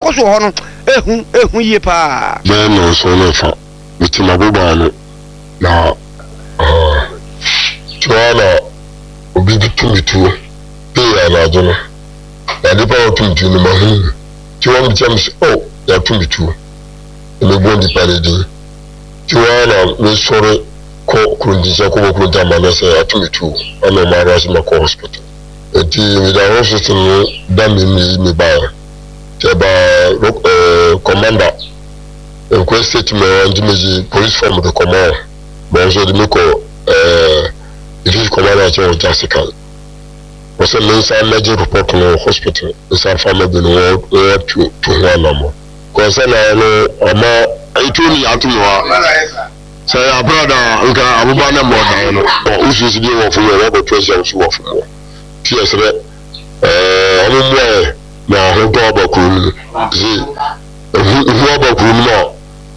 ɛkɔ so wɔ hɔ no, ehu, ehu yie paa. Bɛyɛ nnɔnson ne fa, mete m'abobow ano, na tuo ara na obi to me tuo pee anadwo no, na nipa a ɔto me tuo no, mahu no. Nti wɔbisa me sɛ, Oh, yɛato me tuo? Na mebɔ nipa no din. Nti hɔ ara na mesɔre kɔ Kurontinkyɛn kɔbɔ Kurontin amanneɛ sɛ yɛato me tuo, ɛna wɔn ara nso mɛkɔ hospital. Nti meda hospital no da me na eyi me baeɛ. Nti ɛbaa ɛɛ commander nkɔ statement hɔ nti megye police form de kɔma wɔn. Ma wɔn nso wɔde me kɔ ɛɛ division commander nkyɛn wɔ Jasikan. Wɔsɛ mensan mmɛgye report no wɔ hospital nsan fa mmɛbrɛ no wɔn wɔn tu tu ho anammɔn. Kɔsɛ na ɔno ɔma. Etuo ni ato me hɔ a. Sɛ ɛyɛ aprada a, nka aboba no mmɔ dan no. Wo susu deɛ wɔ fam hɔ, woakɔto ahyia wo so wɔ fam hɔ. Nti yɛsrɛ ɛɛ ɔmo mmoa yɛ na ahotɔ aba kuro no mu. Se ehu ehu aba kuro no mu a,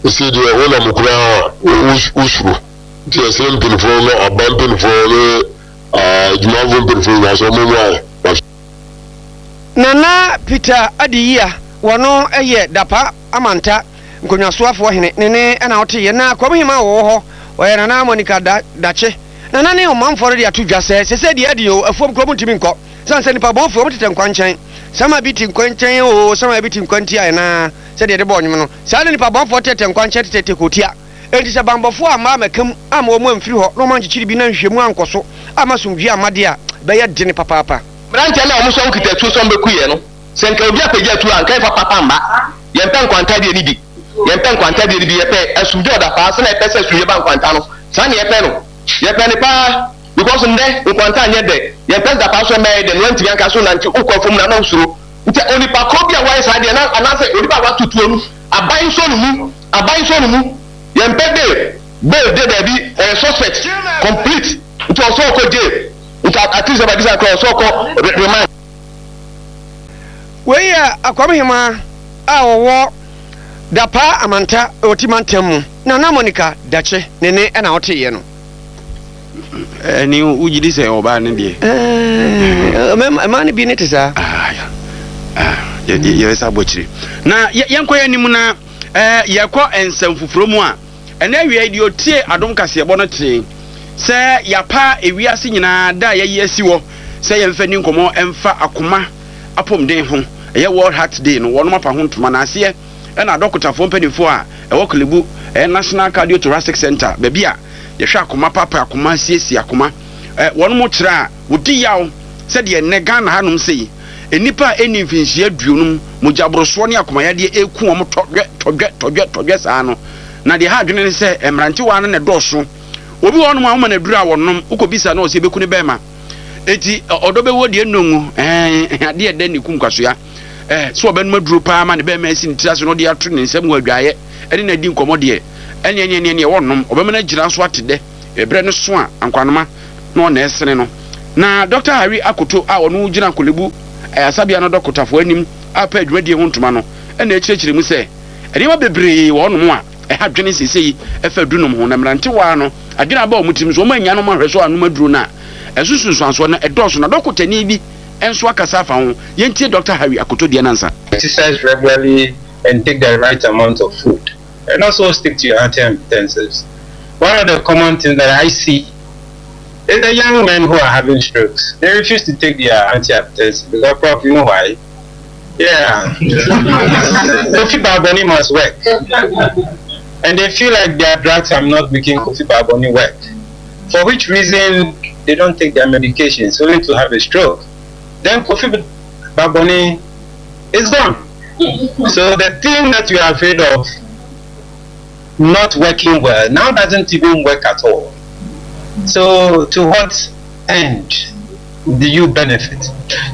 ese deɛ wonam koraa a wo wosuro. Nti yɛsrɛ mpanyinfoɔ no, aban mpanyinfoɔ ne adwumayɛfoɔ mpanyinfoɔ nyinaa sɛ ɔmo mmoa yɛ. Nana Peter Adiyia, wɔno yɛ Dapa Amanta Nkonnwasoafoɔ hene ne ne na ɔteeɛ. Na Kwam Hemaa a wɔwɔ hɔ, ɔyɛ Nana Monica Da Dakye. Nana ne ɔmanfoɔ no de ato dwa sɛ, sesei deɛ ɛden o, afuom koraa wɔntumi nkɔ, sane sɛ nnipa bɔnfoɔ wɔtetɛ nkwankyɛn. Sama bi te nkwankyɛn o, sama bi te nkwantia ɛnaa, sɛdeɛ yɛde bɔɔ nnwom no, saa na nnipa bɔnfoɔ tetɛ nkwankyɛn tetɛ kootia. Enti sɛ banbɔfoɔ amma ammɛka mu amma wɔn amfiri hɔ na wɔankyekyere bi na nhwehwɛmu ankɔ so amma asomdwoeɛ amma deɛ a, ɛbɛyɛ dene papaapa. Mmeranteɛ no a wɔn nso wɔkita atuo sɛ wɔbɛku yɛn no, sɛ nka obi apagya atuo a, anka yɛmfa papa mma. Yɛmpɛ nkwanta deɛ no bi. Yɛmpɛ nkwanta deɛ no bi. Yɛpɛ asomdwoeɛ ɔdapaa. Sɛdeɛ yɛpɛ sɛ asomdwoeɛ ba nkwanta no, saa na yɛpɛ no. Yɛpɛ no paa because nnɛ nkwanta nyɛ dɛ. Yɛmpɛ sɛ dapaa nso mmɛyɛ dɛ na woantumi anka so nante wokɔ afuom no a na wosuro. Nti onipa korɔ bi a wayɛ saa deɛ no anaasɛ onipa a wato tuo no, aban nsɔ no mu. Aban nsɔ no mu. Yɛmpɛ bail. Bail deɛ daabi, ɔyɛ suspect complete nti ɔsɛ ɔkɔ jail. Nti at least by this time koraa ɔsɛ ɔkɔ remand. Wei yɛ Akwam Hemaa a ɔwɔ Dapaa Amanta wɔ Ti Mantam mu, Nana Monica Dakye ne ne na ɔteeɛ no. Ɛne wogye di sɛ ɔbaa no deɛ. Mmaa no bi ne te saa. Yɛbɛsa abɔ akyire na yɛnkɔ yɛn anim na yɛkɔ nsɛm foforɔ mu a. Ɛnnɛ awia yi, deɛ ɔtie adom kaseɛbɔ no tee sɛ yɛapa ewiase nyinaa da a yɛayi asi hɔ sɛ yɛmfa nni nkɔmmɔ mfa akoma apɔmuden ho, ɛyɛ World Heart Day no, wɔnom apa ho ntoma. Na aseɛ ɛna adɔkotafoɔ mpanimfoɔ a ɛwɔ Korle-Bu, ɛyɛ National Cardiothoracic Centre, baabi a yɛhwɛ akoma, paapae akoma, siesie akoma, wɔnom kyerɛ a wɔdi yaw sɛ deɛ nnɛ Ghana hanom sei, Nnipa a ɛnni mfinhyia aduonum, mogyaborosoɔ ne akomayadeɛ reku wɔn tɔdwɛ, tɔdwɛ, tɔdwɛ, tɔdwɛ saa no. Na deɛ ɛha adwene ne sɛ, mmerantewaa no na ɛdɔɔso. Obi wɔ hɔnom a woma no aduro a ɔnom, wokɔbisa no a ɔse ɛbɛku ne bɛrima. Enti ɔdɔ bɛwuo deɛ nnɔ ngu, ɛɛ, adeɛ ɛdɛ ne kum kwasoa. Ɛɛ, sɛ ɔbɛnom aduro paa ma ne bɛrima asi ne tiri ase na ɔde ato ne nsam wɔ adwaeɛ ɛne no adi nkɔmmɔ deɛ, ɛneɛ, ɛneɛ, ɛneɛ, ɔnnom. Ɔbɛma no agyina so ate dɛ. Ɛberɛ no so a, ankwanoma na ɔna ɛsene no. Na Dɔkta Harry Akoto a ɔno gyina Korle-Bu Ayarsabea no dɔkotafoɔ anim a pɛ dwumadie ho ntoma no na ɛkyerɛkyerɛ mu sɛ nneɛma bebree wɔ hɔnom a ɛha dwene seesei ɛfa adunom ho na mmerantewaa no adwene aba wɔn tirim so wɔn annya nom ahwɛsoɔ anom aduro no a ɛso nsunsuansoɔ no ɛdɔɔso na dɔkotani bi nso akasa afa ho. Yɛntie Dɔkta Harry Akoto deɛ no ansa. Exercise regularly and take the right amount of food and also stick to your antihypertensives. One of the common things that I see is the young men who are having strokes. They refuse to take their antihypertensive because, Prof, you know why? Yeah. Kofi Baboni must work. And they feel like their drugs are not making Kofi Baboni work. For which reason they don't take their medications, only to have a stroke. Then Kofi Baboni is gone. So the thing that you are afraid of not working well now doesn't even work at all. So to what end do you benefit?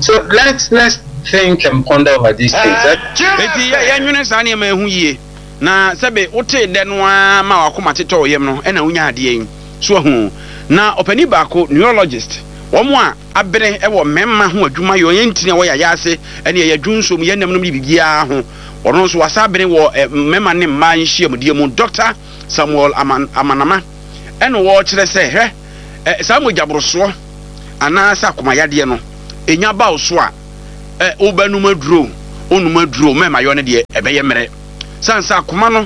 So let's let's think and ponder over these things. Enti yɛ yɛnwene saa nneɛma yi ho yie, na sɛbe wotee dɛ no ara ma w'akoma tetɔ wo yam no na wonyaa adeɛ yi. So wahu? Na ɔpanin baako, neurologist, wɔn a abene wɔ mmarima ho adwuma yɛ, wɔn ntini a ɛwɔ yɛn ayaase ne yɛn adwonsɔ mu, yɛn nam nom ne biribiara ho, ɔno nso wasa abene wɔ mmarima ne mmaa nhyiamudie mu, Dɔkta Samuel Aman, Amanama, ɛna ɔrekyerɛ sɛ, hwɛ, saa mogyaborosoɔ anaasɛ akomayadeɛ no, ɛnya ba wo so a, wobɛnom aduro o, Wonnom aduro mmarima yɔ no deɛ ɛbɛyɛ mmerɛ. Sane sɛ akoma no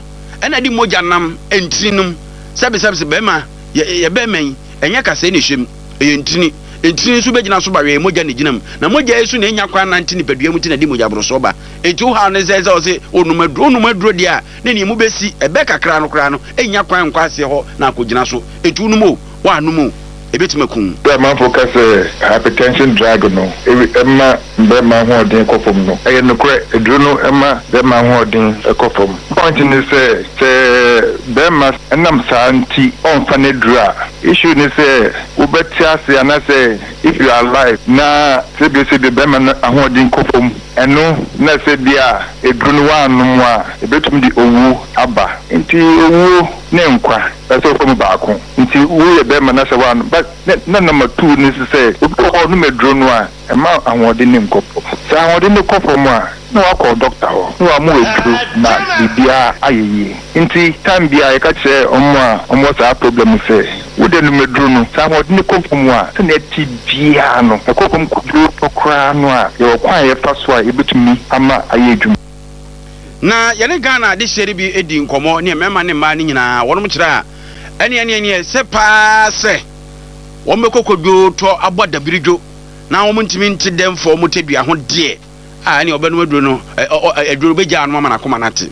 na ɛde mogya nam ntini no mu. Sɛbesɛbese barima yɛ yɛ barima yi, ɛnyɛ kasɛɛ na ɛhyɛ mu, ɛyɛ ntini. Ntini nso bɛgyina so ba wɛɛ mogya na ɛgyina mu. Na mogya yi nso na ɛnya kwan nante nipadua mu nti na ɛde mogya borosoɔ ba. Enti wo haw ne sɛ sɛ ɔse wonnom aduro, wonnom aduro deɛ a na nea emu bɛsi, ɛbɛ kakra no koraa no ɛnnya kwan nkɔ aseɛ hɔ na akɔgyina so. Enti wonom o, woannom o, ɛbɛtumi aku wo. Berɛ a amanfoɔ ka sɛ hypertension drug no ma barima ahoɔden kɔ fam no, ɛyɛ nokorɛ. Aduro no ma barima ahoɔden kɔ fam. Point ne sɛ, sɛ barima nam saa nti ɔmfa n'aduro a, issue ne sɛ wobɛte ase anaasɛ if you are alive na sɛbio sɛbio barima no ahoɔden kɔ fam, ɛno na sɛ bia aduro no woannom a, ɛbɛtumi de owuo aba. Nti owuo ne nkwa, ɛsɛ sɛ wofa mu baako. Nti woyɛ barima na sɛ woannom, but na number two ne sɛ obi wɔ hɔ a ɔnom aduro no a, Ɛmma ahoɔden no nkɔ fam. Sɛ ahoɔden no kɔ fam a, na wakɔ dɔkta hɔ na wama wo aduro na biribiara ayɛ yie. Nti time biara yɛka kyerɛ wɔn a wɔwɔ saa problem no sɛ, wo deɛ nom aduro no, sɛ ahoɔden no kɔ fam a, sɛdeɛ ɛte biara no, ɛkɔ fam kɔduru hɔ koraa no a, yɛwɔ kwan a yɛfa so a yɛbɛtumi ama ayɛ adwuma. Na yɛne Ghana adehyeɛ no bi dii nkɔmmɔ ne mmarima ne mmaa no nyinaa, wɔnom kyerɛ a, ɛneɛ neɛ neɛ sɛ paa sɛ wɔbɛkɔ kɔdwoo tɔ abɔ dabiridwo. na wɔn ntumi nte dɛ mfa wɔn tadua ho deɛ a, ɛnneɛ ɔbɛnom aduro no, ɛ, ɔ, ɔ, aduro no bɛgyaa no ama n'akoma no ate.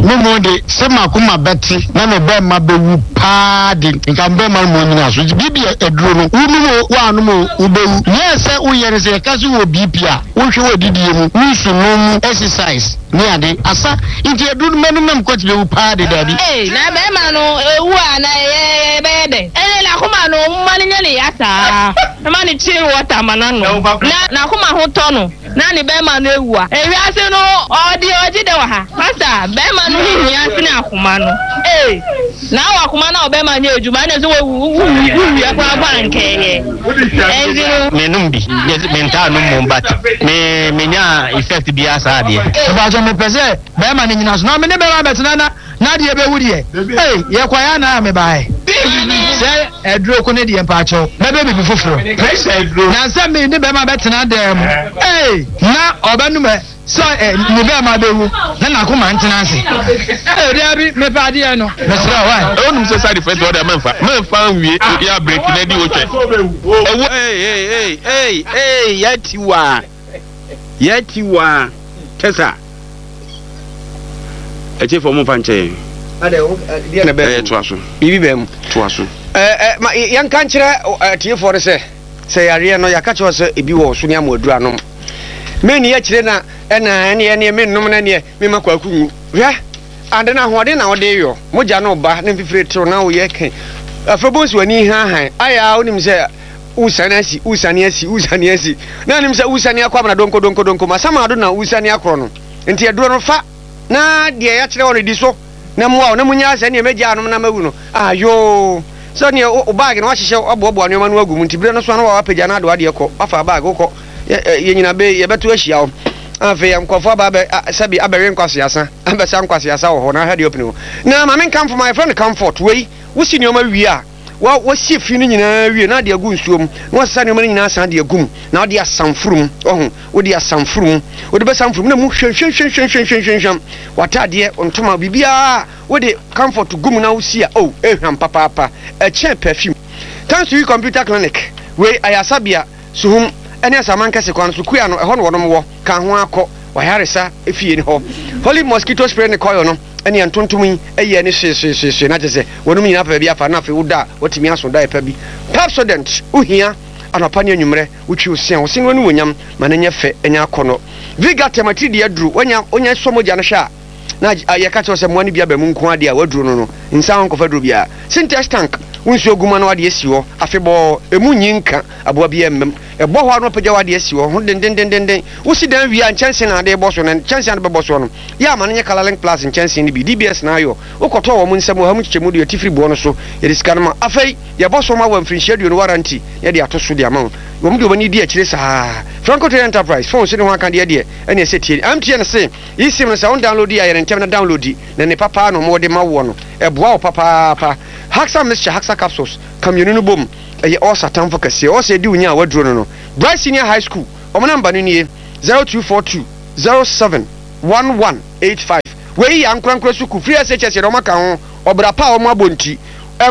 Me mmom de, sɛ m'akoma bɛte na me bɛmma bɛwu paa de, nka me bɛmma no mmom nnyina so. Nti BP aduro no, wonom o, woannom o, wobɛwu. Nea ɛsɛ woyɛ ne sɛ, yɛka sɛ wowɔ BP a, wohwɛ w'adidie mu, wo nsunom mu, exercise, ne ade. Asa. Nti aduro no mɛnom na me kɔte bɛwu paa de, daabi. Ei na bɛɛma no ewu a na yɛ bɛyɛ dɛn ɛne nakoma no momma no nyɛ ne ya saa mma no chill water ma no anom na nakoma ho tɔ no na ne bɛɛma no ewu a ewiase no ɔde ɔgye dɛn wɔ ha pastor bɛɛma no ho hia sene akoma no ei na awɔ akoma no a ɔbɛɛma nyɛ adwuma ɛne sɛ wawu wo wia koraa mpo a nkɛyɛ ɛnti no. Me nom bi me ntaa nom mmom but me me nyaa effect biara saa deɛ. Mepakyɛ mepɛ sɛ bɛɛma no nyina so na mene bɛɛma bɛtena na nadeɛ bɛwu deɛ ei yɛkwaeɛ anaa mebaeɛ sɛ aduro ko ne deɛ mpakyɛw mɛbɛ bibi foforɔ na sɛ me ne bɛɛma bɛtena dan mu ei na ɔbɛnum ɛ sɛ ɛ ne bɛɛma bɛwu na nakoma ntena ase ei daabi mepɛ adeɛ no mesrɛ wai. Wonim sɛ side effect wɔ deɛ mɛnfa mɛnfa nwie yɛ abreak na di wotwɛ ɛwɔ. Ei ei ei ei ei yɛati waa yɛati waa tɛsa atiefo mo nfa nkyɛ yɛn. Deɛ na bɛn mu toa so biribi bɛn mu toa so. Ɛɛ ma yɛnka nkyerɛ atiefoɔ no sɛ sɛ yareɛ no yɛaka kyerɛ sɛ ebi wɔ so ne ama aduru anom menni akyire na ɛna ɛneɛ ɛneɛ mennom no ɛneɛ mema kwaku nwu hwɛ ade no ahoɔden na wode yɔ mogya no ba na mfifire tew na woyɛ ke afei bɔnsi w'ani hahan ayɛ a wonim sɛ wosane asi wosane asi wosane asi na anim sɛ wosane akɔ amena donko donko donko masamado na wosane akorɔ no nti aduro no fa na deɛ yɛakyerɛ wɔ no di so na mmoa wo na munyaa sɛ neɛ mɛgya anom na mawu no ah yoo sɛ neɛ wo baage no wahyehyɛ waboaboa nneɛma no agu mu nti berɛ no so a na wapagya no ade wadeɛ kɔ wafa baage wokɔ yɛ nyina be yɛbɛto ahyia wo afei nkurɔfoɔ aba abɛ sɛbi abɛwe nkwaseasa abɛsa nkwaseasa wɔ hɔ na ahwɛ deɛ ɔpene hɔ na maame nkamfo ma yɛfrɛ no comfort wei wosi nneɛma wie a Wa, wasie fi no nyinaa wie na ade agu nsuo mu, na wasesa nneɛma no nyinaa asan de agu mu, na wode asan foro mu. Wahu? Wode asan foro mu. Wode bɛsan foro mu na mu hwamhwamhwamhwamhwamhwam. W'ataadeɛ, wo ntoma, biribiara wode comfort gu mu na wosi a, oh, ɛhwam papaapa. Ɛkyɛn perfume. Thanks to you Computer Clinic, wei ayasabea, Suhum, ne Asaman Kɛse kwan so, Kua no, ɛhɔ na wɔnom wɔ. Ka ho ara kɔ w'ayaresa fie no hɔ. Holy mosquito spray ne coil no ne ntontom yi ayi ani hyeehyeehyeehye na kyerɛ sɛ wɔnom nyinaa pɛ baabi afa na afei woda a watumi aso daeɛ pa bi. Pepsodent wohia anɔpa ne anwummerɛ wotwi wo se a wo se no animuonyam ma no nyɛ fɛ nyɛ akɔnnɔ. Vigatem atiridii aduro wanya wonya sɔ mogya no hwɛ a na yɛka kyerɛ wo sɛ mmoa no bi aba mu nko ara deɛ a waduro no no nsan ho nkɔfa duro biara. Sintex tank wo nsuo gu mu a na wode asi hɔ afebɔɔ emu nyi nka aboa biara mma mu. Ɛbɔ hɔ a na wapagya w'ade asi hɔ ho dendendenden. Wosi dan wie a, nkyɛnsee na ade rebɔ so, na nkyɛnsee a ade bɛbɔ soɔ no, yɛ a ma no nyɛ Colourlink Plus nkyɛnsee no bi. DBS na ayɔ. Wokɔtɔɔ wɔn nsam ɔha mu nkyekyɛmu de ati firi boɔ no so. Yɛde sika no ma. Afei, yɛbɔ so ma wo mfirinhyia aduonu warranty na yɛde ato so de ama wo. Wɔn de wɔn ani di akyire saa. Franco Trade Enterprise, phones ne ho akadeɛ deɛ, ɛne ɛsɛ tie. MTN se, eSIM no sɛ wo downloadi a, yɛ no ntɛm na downloadi, na ne papa na wɔde ma woɔ no, ɛboa wo papaapa. Haxa Mixture, Haxa Capsules, ka mmienu no bom. Ɛyɛ Ɔs atamfo kɛseɛ. Ɔs adi wo nya a waduro no no. Bright Senior High School, wɔn namba no nie, 0242. 07 11 85 Wei yɛ ankorankora sukuu, free SHS yɛde wɔn aka ho, ɔbra pa a wɔn abɔ nti.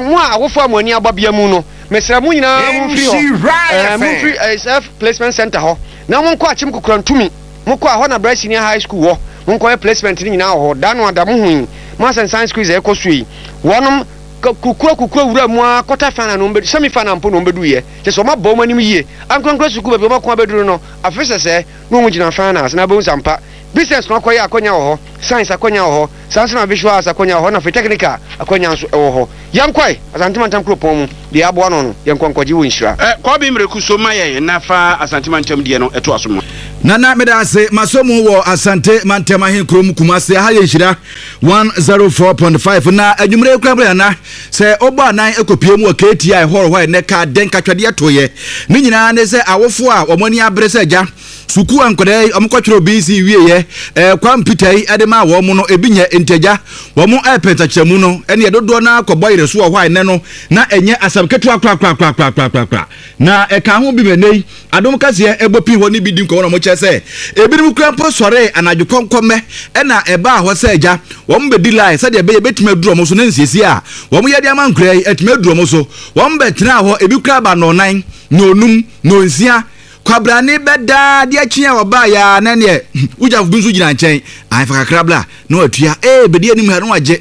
Mo a awofo a mo ani aba bea mu no, mesrɛ mo nyinaa momfiri hɔ, ɛɛ, momfiri ɛɛ, Placement Center hɔ na monkɔ Akyem Kokorantumi. Mokɔ a, hɔ na Bryce Senior High School wɔ. Monkɔyɛ placement no nyinaa wɔ hɔ. Da no ada, mo hu yi, Maths and Science quiz a ɛkɔ so yi, wɔnom kukua kukua wura mu ara quarter final na wɔn bɛdu, semi final mpo na wɔn bɛduiɛ. Kyerɛ sɛ wɔn abɔ wɔn anim yie. Ankorankora sukuu baabi a wɔn ako abɛduru no, afe sɛsɛɛ na wɔn gyina finals na wobɛhu sɛ ampa Business no akɔyɛ akwanya wɔ hɔ, Science akwanya wɔ hɔ, saa nso na Visual Arts akwanya wɔ hɔ na afei Technical akwanya nso wɔ hɔ. Yɛnkɔe! Asante Mantam Kuropɔn mu, deɛ aboa ano no, yɛnkɔ nkɔgye wo nhyira. Kɔbe Miraku so ma yɛn na fa Asante Mantam deɛ no toa so ma. Nana meda ase masɔ mu wɔ Asante Mantam ahenkurom Kumasi aha yɛ nhyira 104.5 na anwummere yi koraa mpo Nana sɛ wobɔ anan kɔpie mu wɔ KTI hall hɔ a ɛnɛ ka dɛn katwadeɛ toeɛ ne nyinaa ne sɛ awofoɔ a wɔn ani abere sɛ agya Sukuu a nkwadaa yi wɔkɔtwerɛw BC wieeɛ ɛɛ Kwame Peter yi de maa wɔn no ebi nyɛ nti agya wɔn ɛrepɛ nsakyeramu no ɛneɛ dodoɔ no ara kɔbɔ yere so wɔ hɔ a ɛnɛ no na ɛnyɛ asɛm ketewa korakorakorakorakorakora na ɛka ho bi ma ɛnɛ yi adom kaseɛ ɛbɔ pii hɔ ne bi di nkɔmmɔ na wɔkyerɛ sɛ ebinom kura mpo sɔree anadwo kɔnkɔmmɛ ɛna ɛbaa hɔ sɛ agya wɔn bɛdi line sɛdeɛ ɛbɛyɛ bɛtumi aduru wɔn so ne nsiesie a wɔn yɛ de ama nkwadaa yi atumi aduru wɔn so wɔn bɛtenaa hɔ ebi kura ba nnɔnnan nnɔnum nnɔnsia Kwabrane bɛda adeɛ kye a ɔbaeɛ ara na ɛneɛ wogyafo bi nso gyina nkyɛn ae fa kakra bra na watua ee bɛdi anim ha na wagye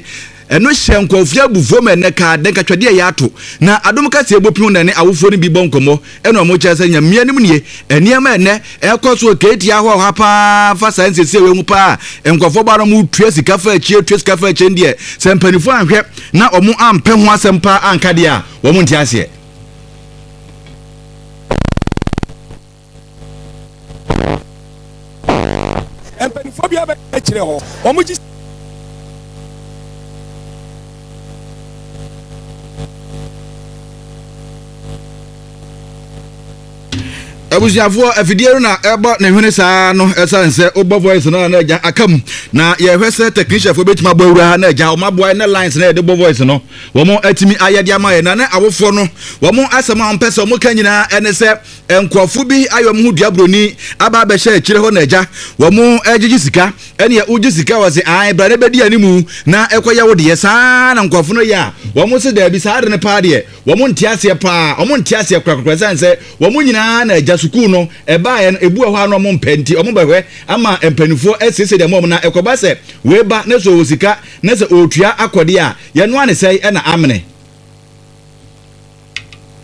ɛno hyɛ nkurɔfoɔ abufuo ma ɛnɛ kaa dɛn katwadeɛ yɛ ato na adom kaseɛ bɔ pin na ɛne awofoɔ no bi bɔ nkɔmmɔ ɛna ɔmo kyerɛ sɛ nyamea nim nie nneɛma ɛnɛ ɛkɔ so keetia hɔ ha paa fa saa nsiesie wei ho paa nkurɔfoɔ ba no ɔmo tua sika fa akyie tua sika fa akyie deɛ sɛ mpanimfoɔ anhwɛ na ɔmo ampɛ ho asɛm paa anka deɛ a wɔn nte aseɛ. Mpanimfoɔ bi abɛka akyerɛ hɔ, wɔn gye. Abusuafoɔ afidie no na ɛbɔ ne hwene saa no ɛsiane sɛ wobɔ voice no a na agya aka mu na yɛhwɛ sɛ technicianfoɔ bɛtumi abɔ awura ha na agya wɔn aboa ne lines na yɛde bɔ voice no wɔn atumi ayɛ de ama yɛn na ne awofoɔ no wɔn asɛm a wɔn pɛ sɛ wɔn ka nyinaa ɛne sɛ nkurɔfo bi ayɛ wɔn ho dua buroni aba abɛhyɛ akyire hɔ na agya wɔn ɛgyegye sika ɛneɛ wogye sika wɔ se ae bra ne bɛdi animu na ɛkɔyɛ wo deɛ saa na nkurɔfo no yɛ a wɔn se daabi saa de no paa deɛ wɔn nte aseɛ paa wɔn nte aseɛ korakora sane sɛ wɔn nyinaa na agya sukuu no ɛbaeɛ no ebu wɔ hɔ a na wɔn mpɛ nti wɔn bɛhwɛ ama mpanimfoɔ asiesie deɛ wɔn na ɛkɔba sɛ wei ba ne so wɔ sika na sɛ ɔretua akɔdeɛ a yɛnoa ne sɛe na amene.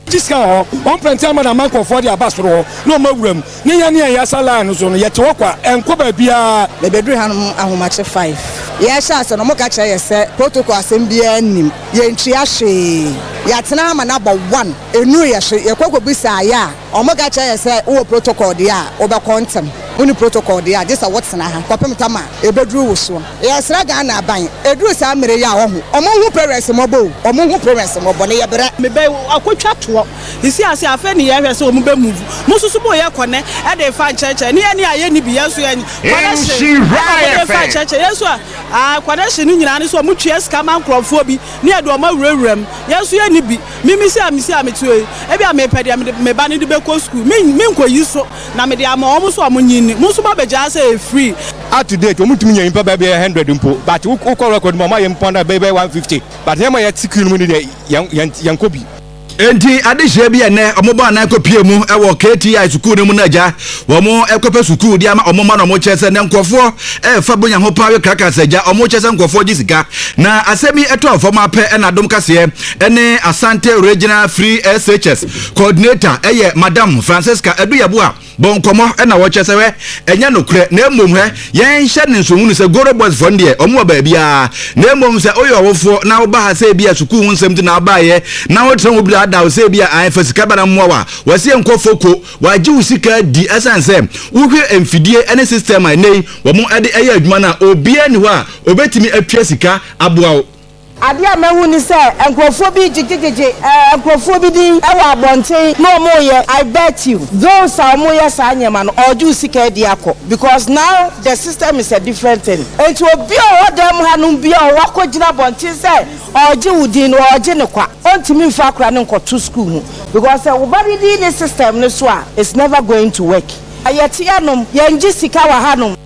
Gye sika wɔ hɔ, wɔn prɛnte ama na ama nkurɔfoɔ de aba soro hɔ na wɔn awura mu. Ne yɛn ne yɛn yɛasa line no so no, yɛte hɔ kwa, ɛnkɔ baabiara. Mebɛduruu hanom ahomakye five. Yɛhyɛ ase no, wɔka kyerɛ yɛ sɛ protocol asɛm biara nnim, yɛntua hwee. Yɛatena ha ma no abɔ one, ɛnnuru yɛ so. Yɛkɔ kɔbisaa yɛ a, Wɔka kyerɛ yɛn sɛ wowɔ protocol deɛ a, wobɛkɔ ntɛm. Wonni protocol deɛ a, gye sɛ wotena ha kɔpem tam a ɛbɛduru wo soɔ. Yɛsrɛ Ghana aban, ɛduru saa mmerɛ yi a wɔho, wɔn nhu parents mmɔbɔ o, wɔn nhu parents mmɔbɔ na yɛbrɛ. Mebɛ akɔtwa toɔ sisi ase afei ne yɛhwɛ sɛ wɔn bɛ move mo nso so mo yɛ kɔnɛ ɛde fa nkyɛnkyɛn ne yɛ ne a yɛ ni bi yɛn nso yɛ connection ɛna mo de fa nkyɛnkyɛn yɛn nso a ah connection no nyinaa ne so wɔn tua sika ma nkorɔfoɔ bi ne yɛde wɔn awurawura mu yɛn nso yɛ ni bi. Me me si a me si a mete hɔ yi, ebia mepɛ deɛ mede me ba no de bɛkɔ sukuu, me menkɔyi so na mede ama wɔn nso wɔn nyi nni. Mo nso moabɛgyaa sɛ ɛyɛ free. Up to date wɔn ntumi nyɛ nipa bɛyɛ bɛyɛ hundred mpo but wo kɔ record mu a wɔn ayɛ mpo na bɛyɛ bɛyɛ 150 but nneɛma a yɛte queue no mu no deɛ yɛn yɛn yɛn kɔ bi. Enti adehyeɛ bi ɛnnɛ wɔn bɔ anan kɔ pie mu wɔ KTI sukuu no mu no agya wɔn kɔpɛ sukuu de ama wɔn mma na wɔn kyerɛ sɛ nɛ nkurɔfoɔ ɛrefa bonya ho paa we krakas agya wɔn kyerɛ sɛ nkurɔfoɔ gye sika na asɛm yi ɛtɔɔ fam apɛ ɛna adom kaseɛ ɛne Asante Regional Free SHS Coordinator ɛyɛ Madam Francisca Aduyabua bɔ nkɔmmɔ ɛna wɔkyerɛ sɛ hwɛ ɛnyɛ nokorɛ na mmom hwɛ yɛnhyɛ ne nso hunu sɛ Goro Boys foɔ no deɛ wɔn wɔ baabiara na mmom sɛ woyɛ ɔwofoɔ na woba ha sɛ ebi a sukuu ho nsɛm ti na wobaeɛ na wotena ho bi ada wo sɛ ebi a ae fa sika ba na mmoa wa wɔsi nkɔ foko wagye wo sika di ɛsan sɛ wohwɛ mfidie ne system a ɛnɛ yi wɔn de ɛyɛ adwuma no a obiara ni hɔ a obetumi atua sika aboa wo. Adeɛ a mahu ne sɛ nkurɔfoɔ bi gyegyegyegye nkurɔfoɔ bi din wɔ abɔnten na wɔreyɛ, I bet you those a wɔyɛ saa nneɛma no ɔregye wo sika adi akɔ because now the system is a different thing. Nti obi a ɔwɔ dan mu hanom biara a wakɔgyina abɔnten sɛ ɔregye wo din no ɔregye no kwa, ɔntumi mfa akora no nkɔto school mu because sɛ wo ba no din ne system no so a it's never going to work. Yɛte hanom, yɛngye sika wɔ hanom.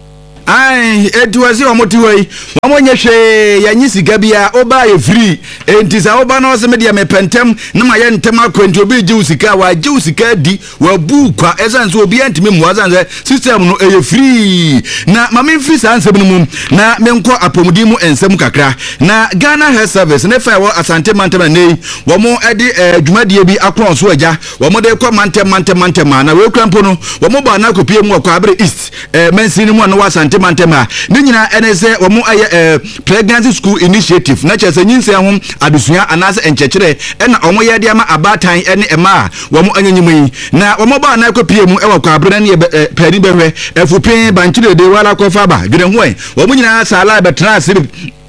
Ae, enti wɔse wɔn te hɔ yi, wɔn nyɛ hwee, yɛnye sika biara, woba yɛ free. Enti sɛ woba na ɔse me deɛ mepɛ ntɛm na mayɛ ntɛm akɔ enti obi regye wo sika a, wagye wo sika adi, wabu wo kwa, ɛsiane sɛ obiara ntumi mmoa, ɛsiane sɛ system no ɛyɛ free. Na ma memfiri saa nsɛm no mu na menkɔ apɔmuden mu nsɛm kakra. Na Ghana Health Service ne fa ɛwɔ Asante mantam na nnɛ yi wɔn de eh, dwumadie bi akorɔn so agya, wɔn de kɔ mantam mantam mantam a na wei kura mpo no wɔn bɔ anaa kɔpie mu wɔ Kwaabere East eh, mansin no mu a na wɔ Asante mantam ha. Ne nyinaa ɛne sɛ wɔn ayɛ eh, Pregnancy School Initiative, na kyerɛ sɛ nyinsɛn ho adesua anaasɛ nkyerɛkyerɛ ɛna wɔn yɛ de ama abaatan ne mmaa a wɔn anyanyim yi. Na wɔn bɔ anaa kɔpie mu wɔ Kwaabere na ne yɛ eh, paani bɛhwɛ, Afupin, Bankyerede, Wala Kɔfa Aba, Dwene Ho Ɛ. Wɔn nyinaa saa la bɛtena ase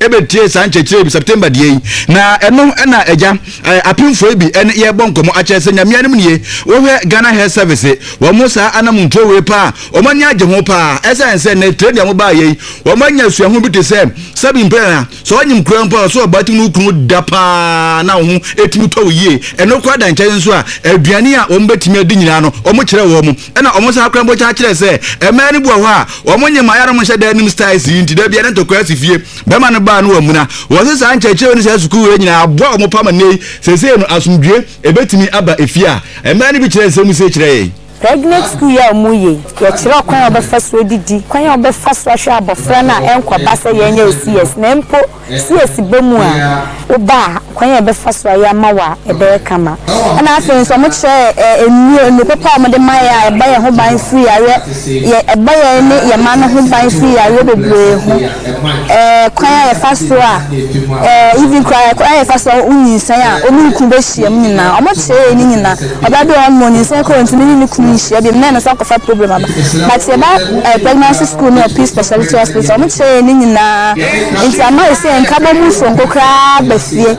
ɛbɛtie saa nkyerɛkyerɛ bi September deɛ yi. Na ɛno ɛna agya apemfoɔ yi bi ɛne yɛbɔ nkɔmmɔ akyerɛ sɛ Nyame anim nie, wohwɛ Ghana Health Service wɔn saa anamontuo wei paa wɔn ani agye ho paa ɛsiane sɛ nnɛ training a wɔn baayɛ yi wɔn anya suahu bi te sɛ sɛbi mpɛ na sɛ ɔnyim kura mpo a ɔsɛ ɔbaa tumi ne wo kunu da paa na wo ho ɛtumi tɔ wo yie ɛno koraa da nkyɛn nso a aduane a wɔn bɛtumi adi nyinaa no wɔn kyerɛ wɔn ɛna wɔn san koraa mpo kyerɛ kyerɛ sɛ mmaa no bi wɔ hɔ a wɔn nyɛ mmaa yɛn hyɛ dan anim styles yi nti da bia ne ntɔkwa asi fie bɛrima no baa no wɔ amuna wɔn sɛ saa nkyerɛkyerɛ ne saa sukuu wei nyinaa aboa wɔn pa ma nnɛ yi seesei no asomdwie ɛbɛtumi aba efie a mmaa no bi kyerɛ nsɛm sei kyerɛ yɛn. Pregnant school yi a wɔyɛ yi, yɛkyerɛ ɔkwan a wɔbɛfa so adidi, kwan a wɔbɛfa so ahwɛ abɔfra no a ɛnkɔba sɛ yɛnyɛ wo CS, na mpo CS ba mu a, woba a, kwan a yɛbɛfa so ayɛ ama wo a ɛbɛyɛ kama. Ɛna afei nso wɔkyerɛ yɛn nnuro, nnuro papa a wɔde ma yɛn a ɛbɔ yɛn ho ban firi yareɛ, yɛ ɛbɔ yɛn ne yɛn mma no ho ban firi yareɛ bebree ho. Ɛɛ kwan a yɛfa so a, ɛɛ even koraa kwan a yɛfa so a wonyinsɛn a wo ne wo kunu bɛhyia mu nyinaa, wɔkyerɛ yɛn ne nyinaa. Ɔbaa bi wɔ hɔ nom ɔnyinsɛn koraa ɔntumi ne ne kunu nhyia biom na ɛno nso akɔfa problem aba but yɛba eh, pregnancy school ne wɔ Peace Speciality Hospital ɔmo kyerɛ yɛn ne nyinaa nti ama yɛ sɛ nkabɔ mu soronko koraa ba fie.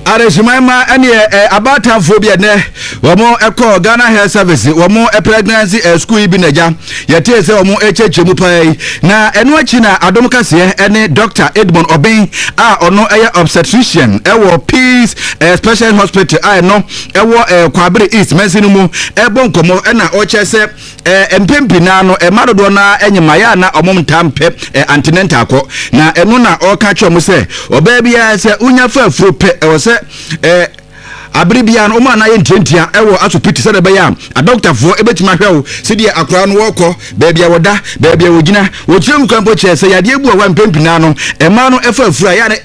Adehyeman ma ɛneɛ ɛ abaatanfoɔ bi ɛnɛ wɔn ɛkɔ Ghana Health Service wɔn pregnancy ɛ school yi bi na agya Yɛtee sɛ wɔrekyerɛkyerɛ mu paa yi, na ɛno akyi na Adom Kaseɛ ne Dɔkta Edmond Obeng a ɔno yɛ obstetrician wɔ Peace eh, Special Hospital a ɛno ɛwɔ eh, Kwabere East mansin no mu ɛbɔ nkɔmmɔ ɛna ɔkyerɛ sɛ eh, mpɛn pii naa no ɛma dodoɔ no ara nyemaeɛ a na wɔn ntaa mpɛ eh, antenatal kɔ na ɛno na ɔreka kyerɛ wɔn sɛ ɔbaa biara sɛ wonya fa afuro pɛ ɛwɔ sɛ eh, Abere biara no, wɔn a na ayɛ ntiantia wɔ asopiti sɛdeɛ ɛbɛyɛ a adɔkotafoɔ bɛtumi ahwɛ wo sɛdeɛ akwadaa no wɔrekɔ, baabi a wɔda, baabi a wɔgyina. Wɔkyerɛ mu kwan mpo kyerɛ sɛ yadeɛ bu a wɔ mpɛn pii naa no, mmaa no fa afuru a ɛyɛ a na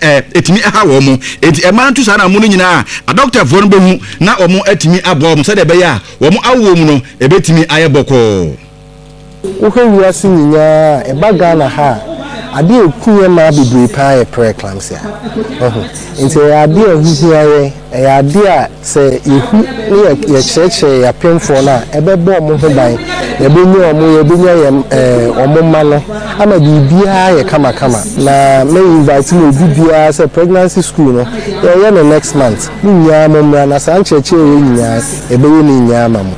ɛtumi ha wɔn. Enti mmaa no to saa anammɔn no nyinaa a, adɔkotafoɔ no bɛhu na wɔatumi aboa wɔn sɛdeɛ ɛbɛyɛ a wɔn awoɔ mu no ɛbɛtumi ayɛ bɔkɔɔ. Wohwɛ wiase nyinaa a, ɛba Ghana ha a, adeɛ a ɛku yɛn mmaa bebree paa yɛ pre-eclampsia. Wahu? Nti ɛyɛ adeɛ a ɛho hia yɛn, ɛyɛ adeɛ a sɛ yɛhu ne yɛ yɛkyerɛkyerɛ yɛn apemfoɔ no a, ɛbɛbɔ wɔn ho ban, yɛbɛnya wɔn, yɛbɛnya yɛn ɛɛ wɔn mma no ama biribiara ayɛ kamakama. Na mɛ invite mo obi biara sɛ pregnancy school no, yɛreyɛ no next month, mo nyinaa mommra na saa nkyerɛkyerɛ wei nyinaa, yɛbɛyɛ ne nyinaa ama mo.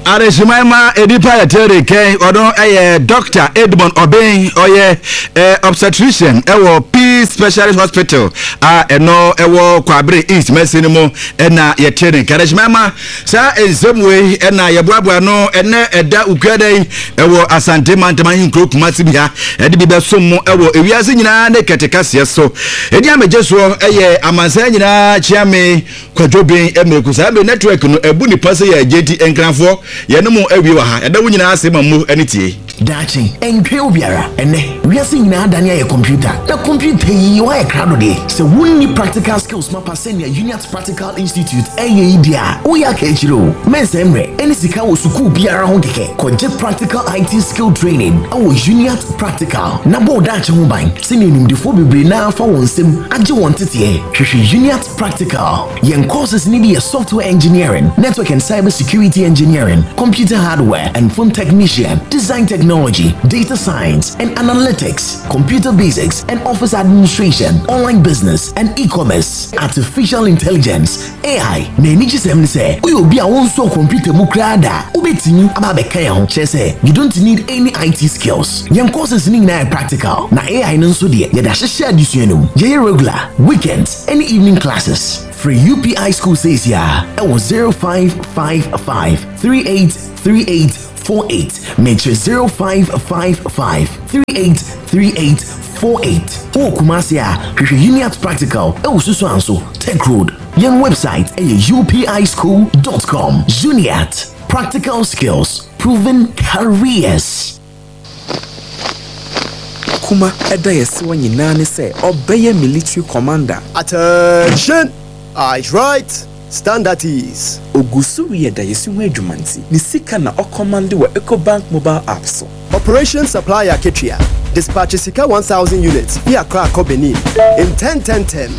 Adehyeman ma nnipa yɛ tere kɛn ɔno yɛ Dr. Edmond Obeng ɔyɛ eh, obstetrician ɛwɔ Peace Specialist Hospital a ɛno ɛwɔ Kwabere East Mɛsi no mu ɛna yɛte ne nka. Adehyeman ma saa nsɛm wei ɛna yɛboaboa no ɛnɛ ɛda ukuada yi ɛwɔ Asante mantam ahenkuro Kumasi bi ha ɛde bi bɛsom mo ɛwɔ ewiase nyinaa ne kɛte kaseɛ so. Ɛdi amegye soɔ ɛyɛ amansan nyinaa kyeame Kwadwo Ben Miraku saa bere network no abu nipa sɛ yɛ agye nti Nkranfoɔ yɛne mo awie wɔ ha yɛda wo nyinaa ase ma mo ani tie. Daakye, ɛntwɛn obiara. Ɛnnɛ, wiase nyinaa adane ayɛ kɔmputa, na kɔmputa yi wɔayɛ krado deɛ. Sɛ wonni practical skills mapa sɛnea Uniat Practical Institute ɛyɛ yi deɛ a, woyɛ aka akyire o. Mɛnsɛe mmerɛ ne sika wɔ sukuu biara ho kɛkɛ. Kɔgye practical IT skill training wɔ Uniat Practical na bɔ wo daakye ho ban sɛnea animdefoɔ bebree no ara afa wɔn nsam agye wɔn nteteɛ. Hwehwɛ Uniat Practical. Yɛn courses no bi yɛ Software Engineering, Network and Cyber Security Engineering, Computer Hardware and Phone Technician, Design Technology, Data Science and Analytics, Computer Basics and Office Administration, Online Business and E-Commerce, Artificial Intelligence, AI. Na anigyesɛm ne sɛ, woyɛ obi a wonsɔɔ kɔmputa mu koraa da a, wobɛtumi aba abɛka yɛn ho. Kyerɛ sɛ, you don't need any IT skills. Yɛn courses no nyinaa yɛ practical, na AI no nso deɛ, yɛde ahyehyɛ adesua no mu. Yɛyɛ regular, weekends, ne evening classes. Frɛ UPI School seesei ara wɔ 0555 38 38. 48. Mekyerɛ 0555 38 38 48. Wowɔ Kumasi a, hwehwɛ Uniat Practical wɔ Susuanso, Tech Road. Yɛn website yɛ upischool dot com. Uniat, practical skills, proven careers. Kuma da yɛsewa nyinaa ne sɛ ɔbɛyɛ military commander. Attention! Eyes right! Stand at ease. Ogu so reyɛ dayɛsi ho adwuma nti, ne sika na ɔkɔmande wɔ Ecobank mobile app so. Operation Supply Akatua, Dispatche sika 1000 units fi Accra kɔ Benin ntɛntɛntɛm.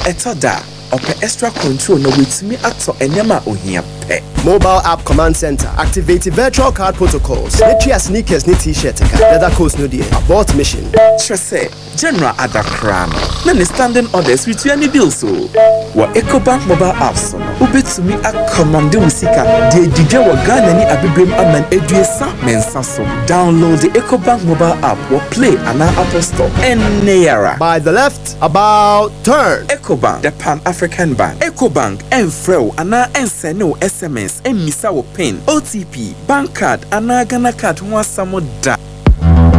Ɛtɔ da a, ɔpɛ extra control na watumi atɔ nneɛma a ohia pɛ. Mobile App Command Center, Activate virtual card protocols na tua sneakers ne T-shirt ka. Leather coats no deɛ, abort mission. Kyerɛ sɛ, General ada koraa no, na ne standing orders retua ne bills o. Wɔ Ecobank mobile app so no, wobɛtumi akɔmande wo sika de adi dwa wɔ Ghana ne Abibirem aman 33 so. Download Ecobank mobile app wɔ Play anaa Apple Store ɛnnɛ yi ara. By the left, about turn. Ecobank, the Pan-African bank. Ecobank ɛmfrɛ wo anaa ɛnsɛne wo sms ɛmmisa wo pin, OTP, bank card anaa Ghana card ho asɛm da.